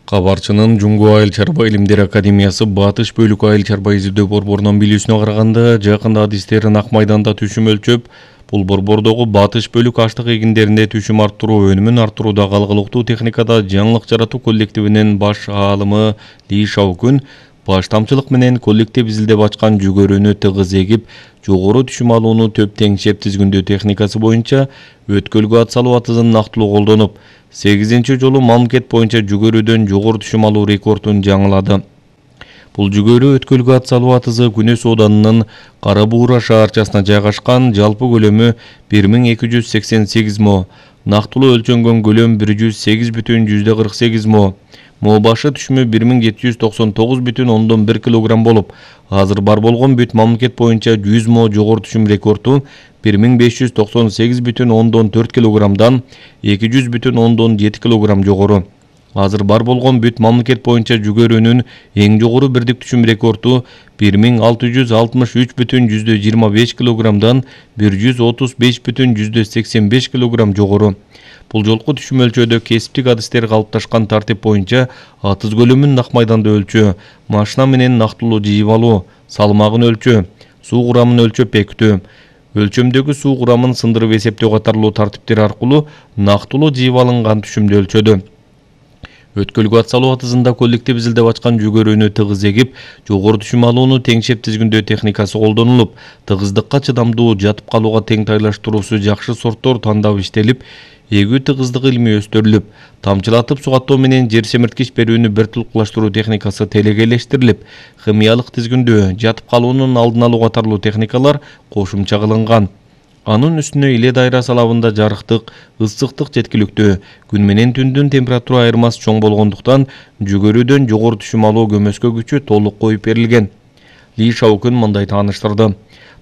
Кабарчынын Жуңгу Айыл чарба илимдер академиясы Батыш бөлүк айыл чарба изилдөө борборунун билүүсүнө караганда, жакында адистерин Ак майданда түшүм өлчөп, бул борбордогу Батыш бөлүк аштык эгиндеринде түшүм арттыруу, өнүмүн арттыруудагы алгылыктуу техникада жаңылык жаратуу коллективинин баш аалымы Ли Шаокун баш тамчылык менен коллектив изилдеп ачкан жүгөрүнү тыгыз эгип, жогору түшүм алууну төп теңшеп тизгүндөө техникасы боюнча өткөлгө ат салуу атызын нактылуу колдонуп, 8-нчи жолу мамлекет боюнча жүгөрүдөн жогору түшүм алуу рекордун жаңылады. Бул жүгөрү өткөлгө ат салуу атызы Күнөс ооданынын Кара Буура шаарчасына жайгашкан, жалпы көлөмү 1288 мо, нактылуу өлчөнгөн көлөм 108,48 мо. Мо башы түшүмү 1799,1 килограмм болуп, азыр бар болгон бүт мамлекет боюнча 100 мо жогору түшүм рекорду 1598,4 килограммдан 200,7 килограмм жогору. Азыр бар болгон бүт мамлекет боюнча жүгөрүнүн эң жогору бирдик түшүм рекорду 1663,25 килограммдан 135,85 килограмм жогору. Бул жолку түшүм өлчөөдө кесиптик адистер калыпташкан тартип боюнча атыз көлөмүн Ак майданда өлчөө, машина менен нактылуу жыйып алуу, салмагын өлчөө, суу курамын өлчөп бекитүү, өлчөмдөгү суу курамын сындырып эсептөө катарлуу тартиптер аркылуу нактылуу жыйып алынган түшүмдү өлчөдү. Өткөлгө ат салуу атызында коллектив изилдеп ачкан жүгөрүнү тыгыз эгип, жогору түшүм алууну теңшеп тизгүндөө техникасы колдонулуп, тыгыздыкка чыдамдуу, жатып калууга тең тайлаштыруусу жакшы сорттор тандап иштелип, эгүү тыгыздыгы илмий өстүрүлүп, тамчылатып сугаттоо менен жер семирткич берүүнү бир тулукташтыруу техникасы телегейлештирилип, химиялык тизгүндөө, жатып калуунун алдын алуу катарлуу техникалар кошумча кылынган. Анын үстүнө иле дайра салабында жарыктык, ысыктык жеткиликтүү, күн менен түндүн температура айырмасы чоң болгондуктан жүгөрүдөн жогору түшүм алуу көмөскө күчү толук коюп берилген. Ли Шаокун мындай тааныштырды.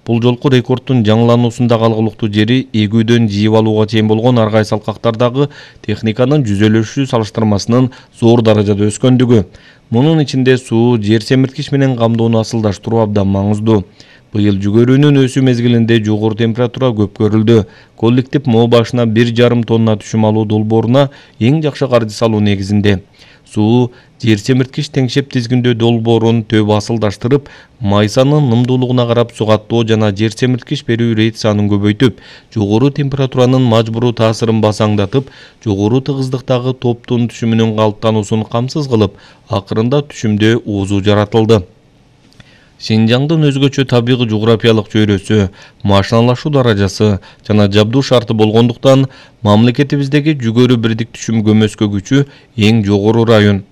Бул жолку рекорддун жаңылануусундагы алгылыктуу жери эгүүдөн жыйып алууга чейин болгон ар кайсы алкактардагы техниканын жүзөлүшү салыштырмасынын зор даражада өскөндүгү. Мунун ичинде суу, жер семирткич менен камдоону асылдаштыруу абдан маңыздуу. Быйыл жүгөрүнүн өсүү мезгилинде жогору температура көп көрүлдү. Коллектив мо башына 1,5 тонна түшүм алуу долбооруна эң жакшы каржы салуу негизинде суу, жер семирткич теңшеп тизгүндөө долбоорун төп асылдаштырып, майсанын нымдуулугуна карап сугаттоо жана жер семирткич берүү рейд санын көбөйтүп, жогору температуранын мажбуруу таасирин басаңдатып, жогору тыгыздыктагы топтун түшүмүнүн калыптануусун камсыз кылып, акырында түшүмдө уузу жаратылды. Шинжаңдын өзгөчө табигый жуграфиялык чөйрөсү, машиналашуу даражасы жана жабдуу шарты болгондуктан мамлекетибиздеги жүгөрү бирдик түшүм көмөскө күчү эң жогору район.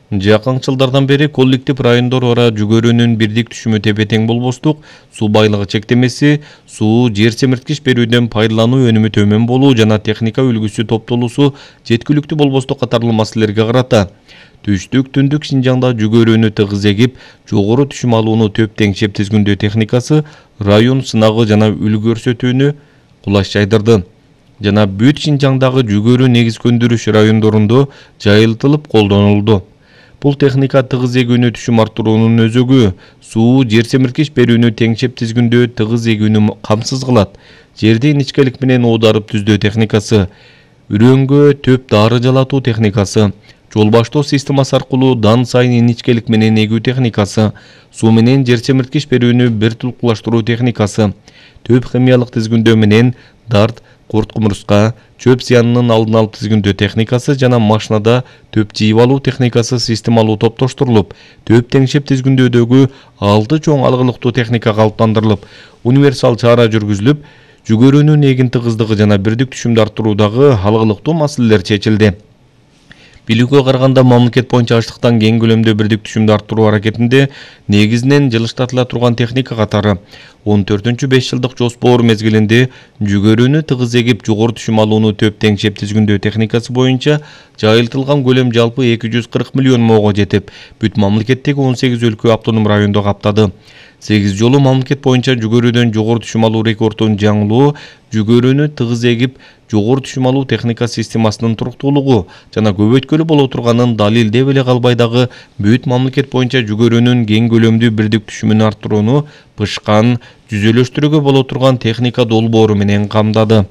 Жакынкы жылдардан бери коллектив райондор ара жүгөрүнүн бирдик түшүмү тепе-тең болбостук, суу байлыгы чектемеси, суу, жер семирткич берүүдөн пайдалануу өнүмү төмөн болуу жана техника үлгүсү топтолуусу жеткиликтүү болбостук катарлуу маселелерге карата түштүк, түндүк Шинжаңда жүгөрүнү тыгыз эгип, жогору түшүм алууну төп теңшеп тизгүндөө техникасы район сынагы жана үлгү көрсөтүүнү кулаш жайдырды жана бүт Шинжаңдагы жүгөрү негиз көндүрүш райондорунда жайылтылып колдонулду. Бул техника тыгыз эгүүнү түшүм арттыруунун өзөгү, суу, жер семирткич берүүнү теңшеп тизгүндөө тыгыз эгүүнү камсыз кылат. Жерди иничкелик менен оодарып түздөө техникасы, үрөңгө төп дары жалатуу техникасы, жол баштоо системасы аркылуу дан сайын иничкелик менен эгүү техникасы, суу менен жер семирткич берүүнү бир тулукташтыруу техникасы, төп химиялык тизгүндөө менен дарт, курт кумурска, чөп зыянынын алдын алып тизгүндөө техникасы жана машинада төп жыйып алуу техникасы системалуу топтоштурулуп, төп теңшеп тизгүндөөдөгү 6 чоң алгылыктуу техника калыптандырылып, универсал чара жүргүзүлүп, жүгөрүнүн эгин тыгыздыгы жана бирдик түшүмдү арттыруудагы алгылыктуу маселелер чечилди. Билүүгө караганда мамлекет боюнча аштыктан кең көлөмдө бирдик түшүмдү арттыруу аракетинде негизинен жылыштатыла турган техника катары 14-5 жылдык жоспор мезгилинде жүгөрүнү тыгыз эгип, жогору түшүм алууну төп теңшеп тизгүндөө техникасы боюнча жайылтылган көлөм жалпы 240 миллион мого жетип, бүт мамлекеттеги 18 өлкө автоном райондо каптады. 8 жолу мамлекет боюнча жүгөрүдөн жогору түшүм алуу рекордун жаңылуу, жүгөрүнү тыгыз эгип, жогору түшүм алуу техника системасынын туруктуулугу жана көбөйткөлү боло турганын далилдеп эле калбай дагы бүт мамлекет боюнча жүгөрүнүн кең көлөмдүү бирдик түшүмүн арттырууну бышкан, жүзөлөштүрүүгө боло турган техника долбоору менен камдады.